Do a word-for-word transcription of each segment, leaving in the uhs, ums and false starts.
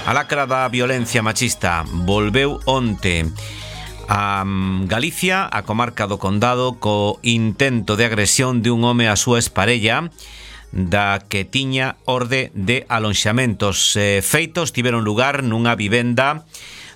A lacra da violencia machista volveu onte a Galicia, a comarca do Condado, co intento de agresión de un home á súa exparella, da que tiña orde de alonxamentos. Eh, feitos tiveron lugar nunha vivenda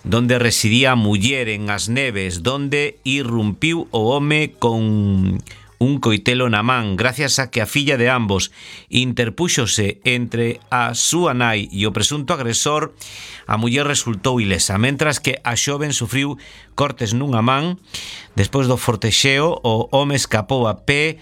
donde residía a muller en As Neves, donde irrumpiu o home con un coitelo na man, gracias a que a filla de ambos interpúxose entre a súa nai e o presunto agresor. A muller resultou ilesa, mentras que a xoven sufriu cortes nunha man. Despois do fortexeo, o home escapou a pé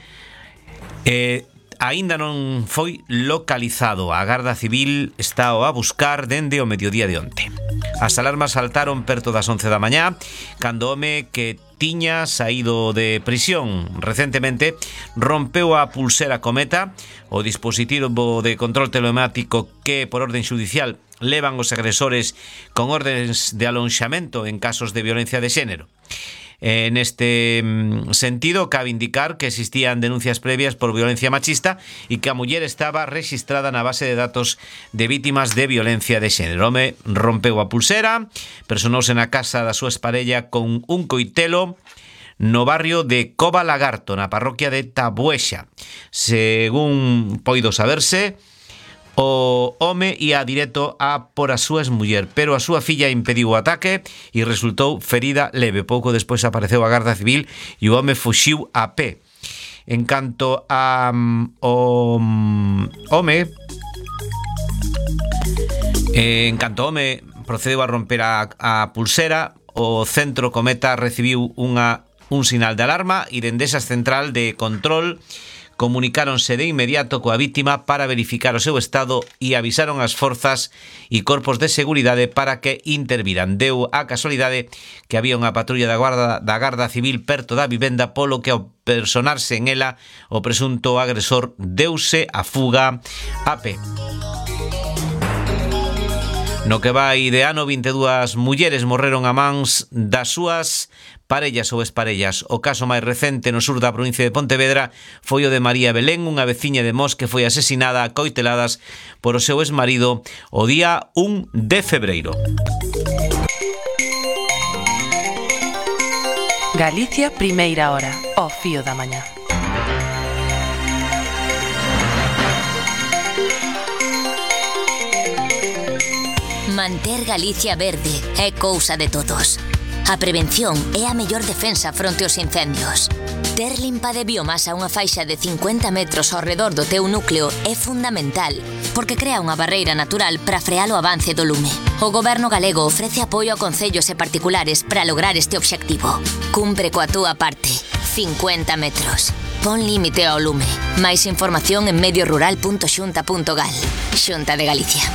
e aínda non foi localizado. A Garda Civil está a buscar dende o mediodía de onte. As alarmas saltaron perto das once da mañá, cando o home que tiña saído de prisión recentemente rompeu a pulsera Cometa, o dispositivo de control telemático que por orden judicial levan os agresores con órdenes de alonxamento en casos de violencia de xénero. En este sentido, cabe indicar que existían denuncias previas por violencia machista e que a muller estaba registrada na base de datos de vítimas de violencia de xénero. O home rompeu a pulsera, personouse na casa da súa exparella con un coitelo no barrio de Cova Lagarto, na parroquia de Tabuexa. Según poido saberse, o home ia directo a por a súa exmuller, pero a súa filla impediu o ataque e resultou ferida leve. Pouco despois apareceu a Garda Civil e o home fuxiu a pé. En canto a um, o um, home eh, en canto o home procedeu a romper a, a pulsera, o centro Cometa recibiu unha un sinal de alarma e dende esa central de control comunicáronse de inmediato coa vítima para verificar o seu estado e avisaron as forzas e corpos de seguridade para que interviran. Deu a casualidade que había unha patrulla da Guarda, da Garda Civil perto da vivenda, polo que ao personarse en ela o presunto agresor deuse a fuga a pé. No que vai de ano, vinte e dúas mulleres morreron a mans das súas parellas ou exparellas. O caso máis recente no sur da provincia de Pontevedra foi o de María Belén, unha veciña de Mos que foi asesinada a coiteladas por o seu exmarido o día un de febreiro. Galicia, primeira hora, ao fío da mañá. Manter Galicia verde é cousa de todos. A prevención é a mellor defensa fronte aos incendios. Ter limpa de biomasa unha faixa de cincuenta metros ao redor do teu núcleo é fundamental, porque crea unha barreira natural para frear o avance do lume. O Goberno galego ofrece apoio a concellos e particulares para lograr este obxectivo. Cumpre coa túa parte. cincuenta metros. Pon límite ao lume. Máis información en mediorural punto xunta punto gal. Xunta de Galicia.